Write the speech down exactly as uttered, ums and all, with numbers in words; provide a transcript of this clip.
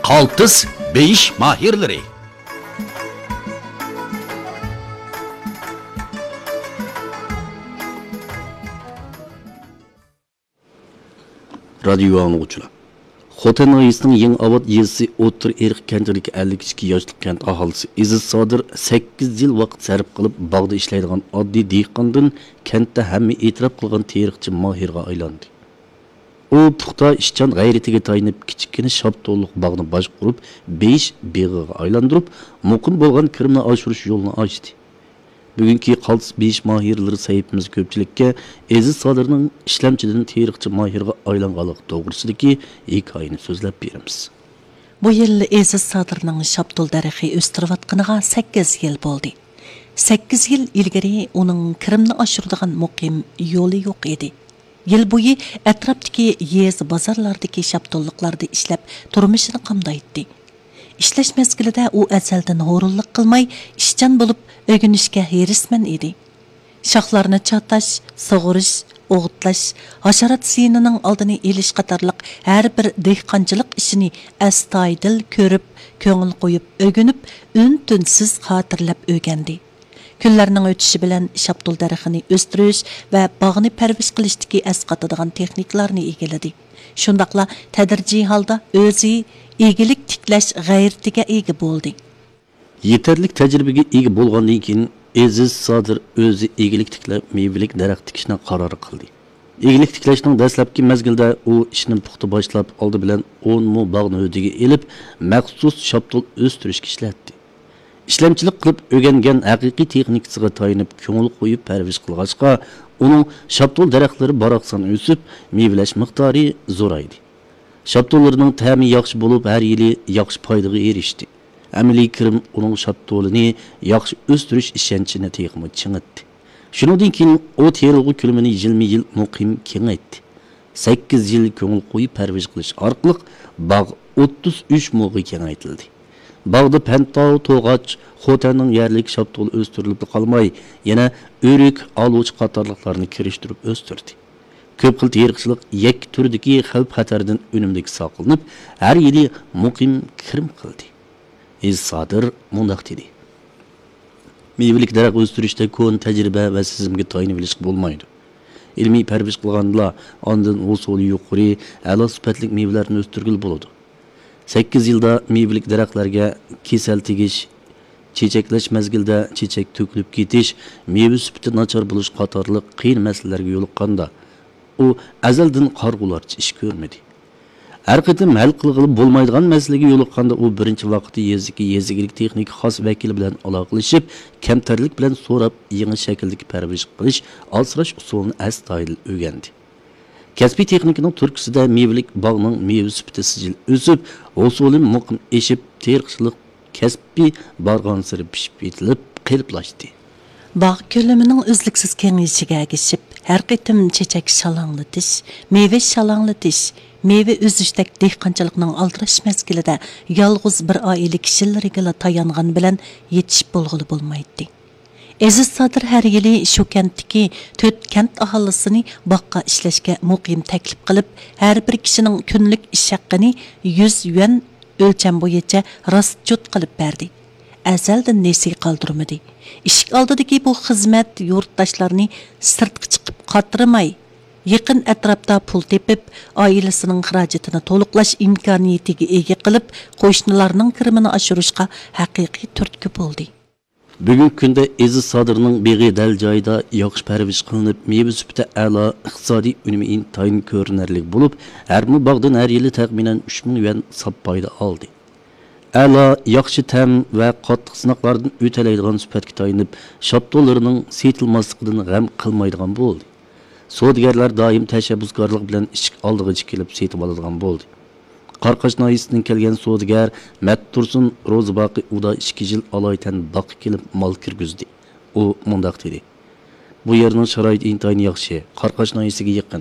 قالتىس بېيىش ماھىرلىرى. رادىيو ئاڭلىغۇچىلار، خوتەن ناھىيەسىنىڭ يېڭى ئاۋات يېزىسى ئوتتۇرا ئېرىق كەنتىدىكى ئەللىك ئىككى ياشلىق كەنت ئاھالىسى ئېزىز سادىر سەككىز يىل ۋاقىت سەرپ قىلىپ، باغدا ئىشلەيدىغان ئاددىي دېھقاندىن كەنتتە ھەممە ئېتىراپ قىلغان تېرىقچى ماھىرغا ئايلاندى. ئۇ پۇختا ئىشچان غەيرىتىگە تايىنىپ، كىچىككىنە شاپتۇللۇق باغنى باشقۇرۇپ، بېيىش بېغىغا ئايلاندۇرۇپ، مۇقىم بولغان كىرىمنى ئاشۇرۇش يولىنى ئاچتى. بۈگۈنكى قالتىس بېيىش ماھىرلىرى سەھىپىمىز كۆپچىلىككە ئېزىز سادىرنىڭ ئىشلەمچىدىن تېرىقچى ماھىرغا ئايلانغانلىقى توغرىسىدىكى ھېكايىنى سۆزلەپ بېرىمىز. بۇ يىل ئېزىز سادىرنىڭ شاپتۇل دەرىخى ئۆستۈرۈۋاتقىنىغا سەككىز يىل بولدى. سەككىز يىل ئىلگىرى ئۇنىڭ كىرىمنى ئاشۇرىدىغان مۇقىم يولى يوق ئىدى. يىل بويى ئەتراپتىكى يېزا، بازارلاردىكى شاپتۇللۇقلاردا ئىشلەپ، تۇرمۇشىنى قامدايتتى. ئىشلەش مەزگىلىدە ئۇ ئەزەلدىن ھۇرۇنلۇق قىلماي، ئىشچان بولۇپ، ئۆگىنىشكە ھېرىسمەن ئىدى. شاخلارنى چاتاش، سۇغۇرۇش، ئوغۇتلاش، ھاشارات زىيىنىنىڭ ئالدىنى ئېلىش قاتارلىق ھەر بىر دېھقانچىلىق ئىشىنى ئەستايىدىل كۆرۈپ، كۆڭۈل قويۇپ ئۆگىنىپ، ئۈن-تىنسىز خاتىرىلەپ ئۆگەندى. كۈنلەرنىڭ ئۆتۈشى بىلەن شاپتۇل دەرىخىنى ئۆستۈرۈش ۋە باغنى پەرۋىش قىلىشتىكى ئەسقاتىدىغان تېخنىكىلارنى ئىگىلىدى. شۇنداقلا تەدرىجىي ھالدا ئۆزى ئىگىلىك تىكلەش غەيرىتىگە ئىگە بولدى. يېتەرلىك تەجرىبىگە ئىگە بولغاندىن كېيىن، ئېزىز سادىر ئۆزى ئىگىلىك تىكلەپ، مېۋىلىك دەرەخ تىكىشنى قارار قىلدى. ئىگىلىك تىكلەشنىڭ دەسلەپكى مەزگىلىدە ئۇ ئىشنى پۇختا باشلاپ، ئالدى بىلەن ئون مو باغنى ھۆددىگە ئېلىپ، مەخسۇس شاپتۇل ئۆستۈرۈشكە ئىشلەتتى. ئىشلەمچىلىك قىلىپ ئۆگەنگەن ھەقىقىي تېخنىكىسىغا تايىنىپ، كۆڭۈل قويۇپ پەرۋىش قىلغاچقا، ئۇنىڭ شاپتۇل دەرەخلىرى باراقسان ئۆسۈپ، مېۋىلەش مىقدارى زورايدى. شاپتۇللىرىنىڭ تەمى ياخشى بولۇپ، ھەر يىلى ياخشى پايدىغا ئېرىشتى. ئەمەلىي كىرىم ئۇنىڭ شاپتۇلىنى ياخشى ئۆستۈرۈش ئىشەنچىنى تېخىمۇ چىڭىتتى. شۇنىڭدىن كېيىن ئۇ تېرىلغۇ كۆلىمىنى يىلمۇ يىل مۇقىم كېڭەيتتى. سەككىز يىل كۆڭۈل قويۇپ پەرۋىش قىلىش ئارقىلىق باغ ئوتتۇز ئۈچ موغا كېڭەيتىلدى. باغدا پەنتاۋ، توغاچ، خوتەننىڭ يەرلىك شاپتۇلى ئۆستۈرۈلۈپلا قالماي، يەنە ئۆرۈك، ئالۇچا قاتارلىقلارنى كىرىشتۈرۈپ ئۆستۈردى. كۆپ خىل تېرىقچىلىق يەككە تۈردىكى خەۋپ-خەتەردىن ئۈنۈملۈك ساقلىنىپ، ھەر يىلى مۇقىم كىرىم قىلدى. ئېزىز سادىر مۇنداق دېدى: مېۋىلىك دەرەخ ئۆستۈرۈشتە كونا تەجرىبە ۋە سېزىمگە تايىنىۋېلىشقا بولمايدۇ. ئىلمىي پەرۋىش قىلغاندىلا، ئاندىن ھوسۇلى يۇقىرى، ئەلا سۈپەتلىك مېۋىلەرنى ئۆستۈرگىلى بولىدۇ. سەككىز يىلدا مېۋىلىك دەرەخلەرگە كېسەل تېگىش، چېچەكلەش مەزگىلىدە چېچەك تۆكۈلۈپ كېتىش، مېۋە سۈپىتى ناچار بولۇش قاتارلىق قىيىن مەسىلىلەرگە يولۇققاندا، ئۇ ئەزەلدىن قارىغۇلارچە ئىش كۆرمىدى. ھەر قېتىم ھەل قىلغىلى بولمايدىغان مەسىلىگە يولۇققاندا، ئۇ بىرىنچى ۋاقىتتا يېزىدىكى يېزا ئىگىلىك تېخنىكا خاس ۋەكىلى بىلەن ئالاقىلىشىپ، كەمتەرلىك بىلەن سوراپ، يېڭى شەكىلدىكى پەرۋىش قىلىش، ئاسراش ئۇسۇلىنى ئەستايىدىل ئۆگەندى. كەسپىي تېخنىكىنىڭ تۈرتكىسىدە مېۋىلىك باغنىڭ مېۋە سۈپىتى سىجىل ئۆسۈپ، ھوسۇلى مۇقىم ئېشىپ، تېرىقچىلىق كەسپى بارغانسېرى پىشىپ يېتىلىپ، قېلىپلاشتى. باغ كۆلىمىنىڭ ئۈزلۈكسىز كېڭىيىشىگە ئەگىشىپ، ھەر قېتىم چېچەك شالاڭلىتىش، مېۋە شالاڭلىتىش، مېۋە ئۈزۈشتەك دېھقانچىلىقنىڭ ئالدىراش مەزگىلىدە يالغۇز بىر ئائىلە كىشىلىرىگىلا تايانغان بىلەن يېتىشىپ بولغىلى بولمايتتى. ئېزىز سادىر ھەر يىلى شۇ كەنتتىكى تۆت كەنت ئاھالىسىنى باغقا ئىشلەشكە مۇقىم تەكلىپ قىلىپ، ھەر بىر كىشىنىڭ كۈنلۈك ئىش ھەققىنى يۈز يۈەن ئۆلچەم بويىچە راست جۇت قىلىپ بەردى. ئەزەلدىن نېسى قالدۇرمىدى. ئىشىك ئالدىدىكى بۇ خىزمەت يۇرتداشلارنى سىرتقا چىقىپ قاترىماي، يېقىن ئەتراپتا پۇل تېپىپ، ئائىلىسىنىڭ خىراجىتىنى تولۇقلاش ئىمكانىيىتىگە ئىگە قىلىپ، قوشنىلارنىڭ كىرىمىنى ئاشۇرۇشقا ھەقىقىي تۈرتكە بولدى. بۈگۈنكى كۈندە ئېزىز سادىرنىڭ بېغى دەل جايىدا ياخشى پەرۋىش قىلىنىپ، مېۋە سۈپىتى ئەلا، ئىقتىسادىي ئۈنۈمى ئىنتايىن كۆرۈنەرلىك بولۇپ، ھەر مو باغدىن ھەر يىلى تەخمىنەن ئۈچ مىڭ يۈەن ساپ پايدا ئالدى. ئەلا، ياخشى تەم ۋە قاتتىق سىناقلاردىن ئۆتەلەيدىغان سۈپەتكە تايىنىپ، شاپتۇللىرىنىڭ سېتىلماسلىقىدىن غەم قىلمايدىغان بولدى. سودىگەرلەر دائىم تەشەببۇسكارلىق بىلەن ئىشىك ئالدىغىچە كېلىپ سېتىۋالىدىغان بولدى. قاراقاش ناھىيەسىدىن كەلگەن سودىگەر مەتتۇرسۇن روزىباقى ئۇدا ئىككى يىل ئالايىتەن باغقا كېلىپ مال كىرگۈزدى. ئۇ مۇنداق دېدى: بۇ يەرنىڭ شارائىتى ئىنتايىن ياخشى، قاراقاش ناھىيەسىگە يېقىن،